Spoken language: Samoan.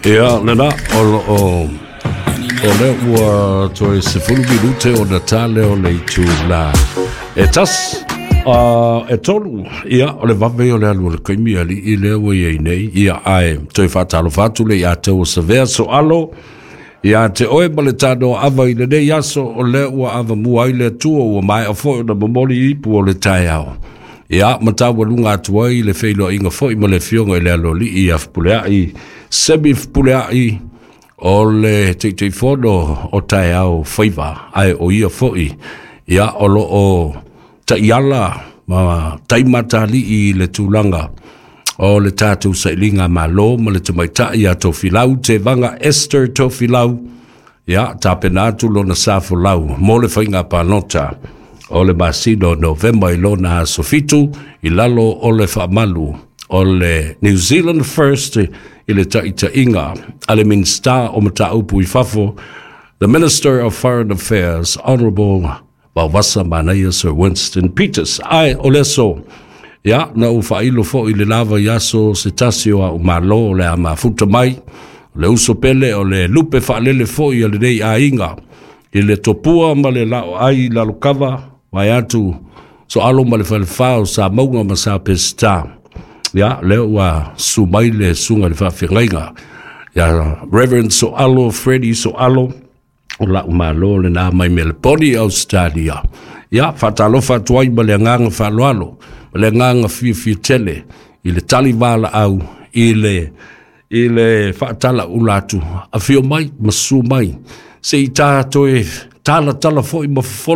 Ia lena o lo o o lea ua toe 10 minute ona ta lea o le itula e 1, e 3. Ia, o le vave o le alu o le taimi alii lea ua iai nei. Ia, ae toe faatalofa atu le ia te ua savea soalo ia te oe ma le tanoa ava i lenei aso o lea ua avamua ai le Atua, ua maea foi ona momoli ipu o le taeao. Ia, ma taualuga atu ai le feiloaiga foi ma le afioga i le aloalii ia Fepuleai Semi Fepuleai, o le Taitaifono o Taeao Faiva, ae o ia foi ia o lo o taiala ma taimatalii i le tulaga o le tatou sailiga malo ma le tamaitai ia Tofilau Tevaga Esther Tofilau. Ia tapena atu lona sa folau mo le faiga palota o le masina o Novema i lona aso 7 i lalo o le faamalu o le New Zealand First i le taitaiga a le Minista o Mataupu i Fafo, the Minister of Foreign Affairs, Honorable Vaovasa Manaia Sir Winston Peters. Ae o le aso, ia, na ou faailo foi le lava i aso se tasi o au malo o le a mafuta mai, o le uso pele, o le lupe faalele foi a lenei aiga i le topua ma le lao ai lalokava vai atu Soalo ma le falefa o sa mauga ma sa pesita. Ia, lea ua su mai le susuga i le faafeagaiga ia Reverend Soalo Freddy Soalo, o lau malo lena mai Meleponi, Australia. Ia, faatalofa atu ai ma le agaga faaaloalo ma le agaga fiafia tele i le tali valaau i le faatalaula atu, afio mai ma susu mai se i ta toe talatala foi ma fofolo.